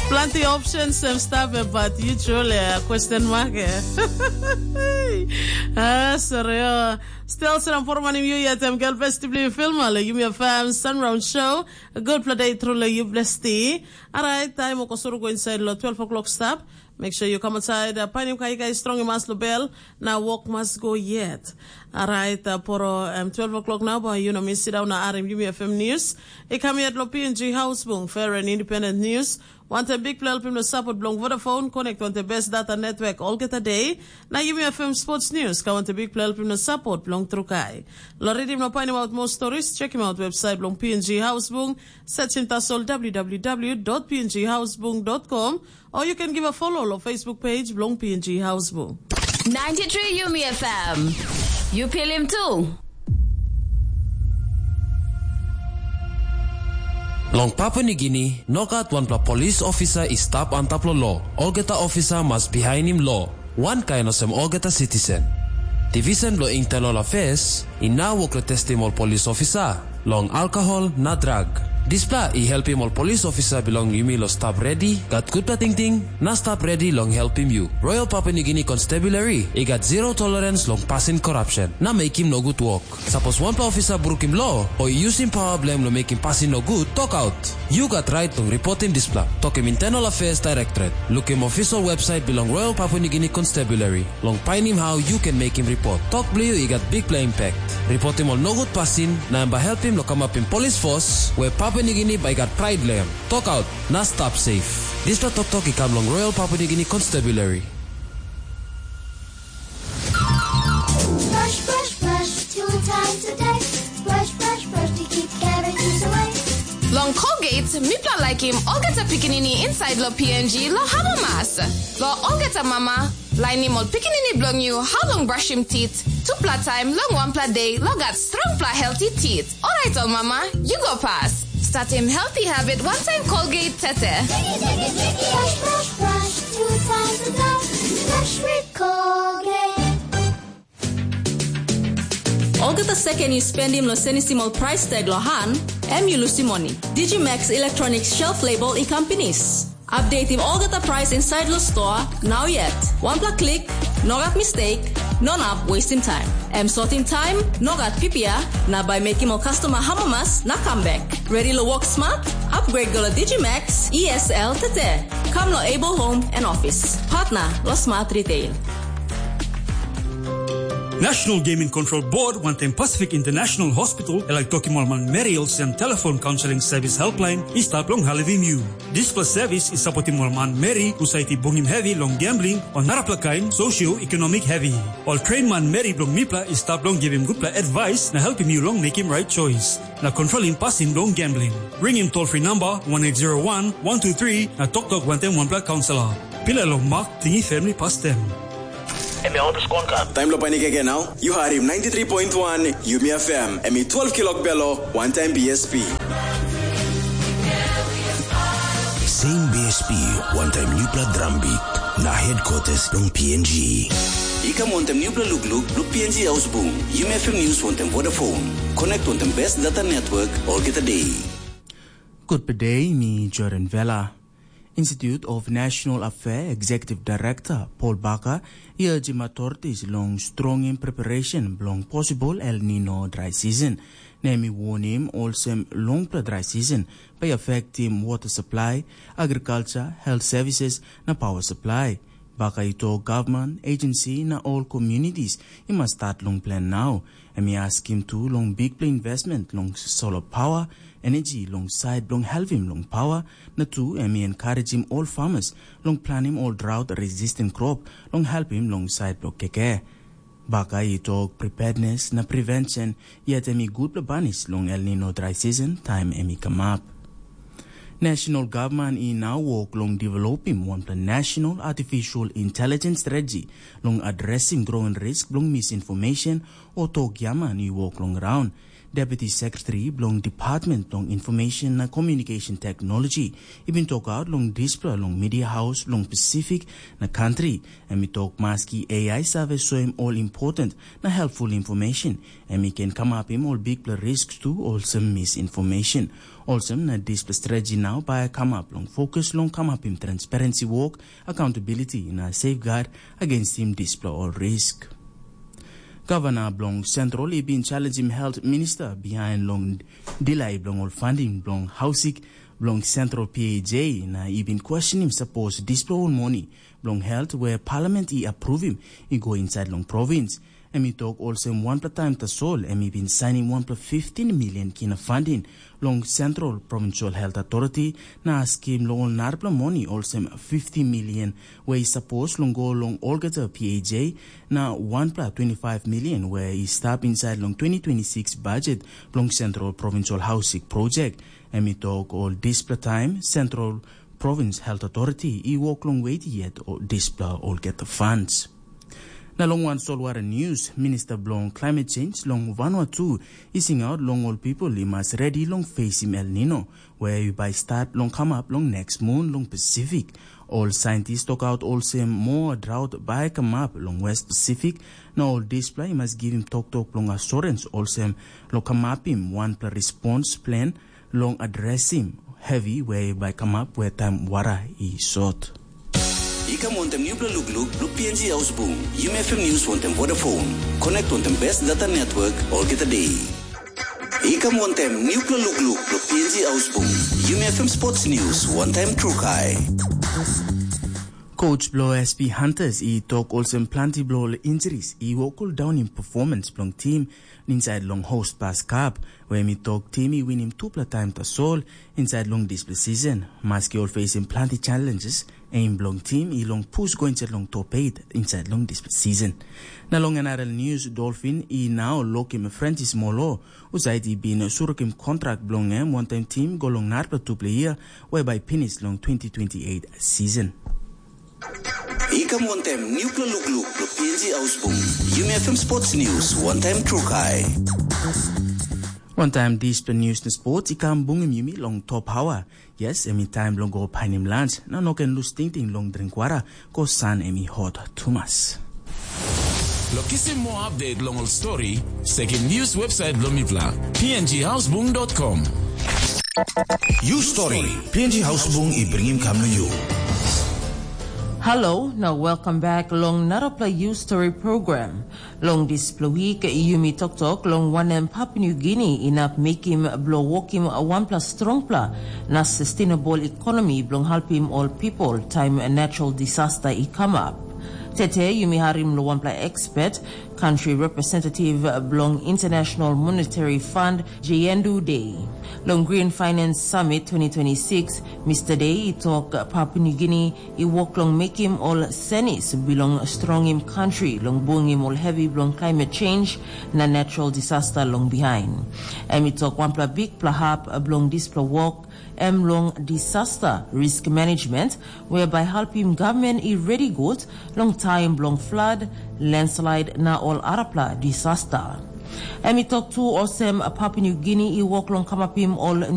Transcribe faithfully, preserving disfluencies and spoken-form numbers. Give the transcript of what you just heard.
Planti options sem stap, but yu truly a question mark. Ah, sorry. Still sera por manim yu yet em gel besti bli filma le Yumi F M Sunround Show. Good play day through le yu blesti. Alright, time oko suru go inside lo twelve o'clock stap. Make sure you come outside. Uh, painim kai kai strong mas lo bell. Na work must go yet. Alright, uh, poro um, twelve o'clock now, but you know me sit down na arim Yumi F M news. E come yet lo P N G House Bung, fair and independent news. Want a big play helpim no support belong Vodafone, connect want the best data network all get a day. Na Yumi F M sports news, ka want a big play helpim no support belong Trukai. Lo redim no painim out more stories, check him out website belong P N G House Bung, search him tasol w w w dot p n g house bung dot com. Or you can give a follow lo Facebook page bilong P N G House Bung. Ninety-three Yumi F M. You feel him too. Long Papua Nigini, no gat wanpela polis ofisa i stap antap lo lo. Olgeta ofisa mas bihainim lo, wankain olsem olgeta citizen. Division bilong Internal Affairs i nau wok long testim ol polis ofisa long alkohol na drag. Dispela i helpim ol polis ofisa bilong yumi long stap redi, gat gutpela tingting, na stap redi long helpim yu. Royal Papua Nigini Constabulary i gat zero tolerance long pasin korapsen na mekim nogut wok. Sapos wanpela ofisa brukim lo o i yusim pawa bilong em long mekim pasin nogut, tokaut. Yu gat rait long ripotim dispela. Tokim Internal Affairs Directorate. Lukim official website bilong Royal Papua Nigini Constabulary. Long painim hau yu ken mekim ripot. Tok bilong yu i gat bikpela impact. Ripotim ol nogut pasin, na em bai helpim long kamapim polis fos, we Papua Nigini bai gat prait long em. Tokaut, na stap safe. Dispela toktok i kam long Royal Papua Nigini Constabulary. Brush, brush, brush, two times a day. Brush, brush, brush to keep cavities away. Long Colgate, mipela laikim olgeta pikinini inside lo P N G lo hamamas. Lo olgeta mama, lainim ol pikinini bilong yu hau long brushim tit, tupela taim long wanpela de lo gat strongpela healthy tit. Orait ol mama, yu go pas. Statim healthy habit wantaim Colgate tete. Brush, brush, brush, two times a day. Brush with Colgate. Olgeta seken yu spendim long senisim ol price tag lo han, em yu lusim moni. Digimax Electronics shelf label i kam pinis. Updatim olgeta price inside lo store, nau yet. Wanpela klik, no gat mistake, no nap wastim time. Em sotim time, no gat pipia, na bai mekim ol customer hamamas na kam bek. Ready lo work smart? Upgrade go lo Digimax E S L tete. Kam lo Able Home and Office. Partner lo Smart Retail. National Gaming Control Board wantaim Pacific International Hospital e laik tokim ol manmeri olsem telefon kaunseling sevis helpline i stap long helpim yu. Dispela sevis i sapotim ol manmeri husat i bungim hevi long gambling o narapela kain socio-ekonomik hevi. Ol train manmeri bilong mipela i stap long givim gutpela advice na helpim yu long mekim rait choice na kontrolim pasin bilong gambling. Ringim toll free number one eight zero one one two three na toktok wantaim wanpela kaunselor. Pilai long Mak Tingi family pastem. Em ya olpes kon kam. Taim lo panik ege nau, yu harim ninety-three point one Yumi F M, em i twelve kilok belo, wantaim B S P. Same B S P, wantaim nupela drum beat, na headquarters long P N G. I kam wantaim nupela lukluk, lo P N G hausbung, Yumi F M News wantaim Vodafone. Connect wantaim best data network, olgeta day. Gutpela day, mi Jordan Vela. Institute of National Affair Executive Director Paul Baka i urgim authorities long strongim preparation bilong possible El Nino dry season. Na em i warning olsem longpela dry season bai affectim water supply, agriculture, health services na power supply. Baka i tok government, agency na all communities i mas start long plan now. Em i askim tu long bikpela investment long solar power, energy long side bilong helpim long power, na tu em i encouragim all farmers long plantim all drought resistant crop long helpim long side bilong keke. Baka i tok preparedness na prevention, yet em i gutpela banis long El Nino dry season taim em i kamap. National Government i now work long developim wanpela National Artificial Intelligence Strategy long addressing growing risk bilong misinformation o tok giaman i wok long graun. Deputy Secretary bilong Department bilong Information na Communication Technology i bin tokaut long dispela long media haus bilong Pasifik na kantri. Em i tok maski A I save soim ol important na helpful information, em i ken kamapim ol bikpela risk tu, olsem misinformation. Olsem na dispela strategy nau bai kamap long fokus long kamapim transparency wok, accountability na safeguard against him dispela ol risk. Gavana bilong Central i bin challengim health minister behind long delay bilong ol funding bilong hausik bilong Central P A J, na i bin questionim sapos dispela ol moni bilong health where parliament i approvim i go inside long province. Em i tok olsem wanpela taim tasol em i bin sainim wanpela fifteen million kina funding long Central Provincial Health Authority, na askim long ol narapela moni olsem fifty million we i sapos long go long olgeta P A J, na wanpela twenty-five million we i stap inside long twenty twenty-six budget bilong Central Provincial Housing Project. Em i tok ol dispela taim Central Province Health Authority i wok long wet yet o dispela olgeta funds. Na long wan solwara news, Minister bilong Climate Change long Vanuatu i singaut long ol people i mas redi long facing El Nino, where i bai start long kamap long next moon long Pacific. Ol scientists tokaut olsem more drought bai kamap long West Pacific, na ol dispela i mas givim toktok long assurance olsem long kamapim wanpela response plan long addressing heavy way bai kamap where time wara i sot. I kam wantem nupela lukluk long P N G Ausbung, Yumi F M News wantem Vodafone. Connect wantem best data network olgeta day. I kam wantem nupela lukluk long P N G Ausbung, Yumi F M Sports News wantem Trukai. Coach bilong S P Hunters i tok olsem planti bilong ol injuries i wokul daunim performance bilong tim inside long host pas cup, where mi tok tim i winim tupela taim tasol inside long dispela season. Maski ol facing planti challenges, aim bilong tim i long pus go inside long top eight inside long dispela season. Na long N R L news, Dolphin i nau lokim Francis Molo, usait i bin surukim kontrak bilong em wantaim tim go long narapela tupela year, where bai pinis long twenty twenty-eight season. I kam wantem nupela lukluk long P N G Ausbung, Yumi F M Sports News wantem Trukai. Wantaim dispela news na sports i kam bungim yumi long top hawa. Yes, em i taim bilong go painim lunch, na no ken lus tingting long dring wara, ko san em i hot tumas. Long kisim moa update long ol stori, sekim news website bilong mipela, P N G Hausbung dot com. You story, P N G Hausbung i bringim kam na you. Hello, na welcome back long narapela You Story program. Long dispela wik, yumi toktok long wanem Papua New Guinea inap mekim bilong wokim wanpela strongpela na sustainable economy bilong helpim ol people taim natural disaster i kamap. Tete yumi harim long wanpela expert, country representative bilong International Monetary Fund, Jayendu Day. Long Green Finance Summit twenty twenty-six, Mister Day i tok Papua New Guinea i wok long mekim ol senis bilong strongim kantri long bungim ol hevi bilong climate change na natural disaster long bihain. Em i tok wanpela bikpela hap bilong dispela wok em long disaster risk management, whereby helpim government i ready gut long taim bilong flood, landslide na ol arapela disaster. Em i tok tu olsem Papua New Guinea i wok long kamapim ol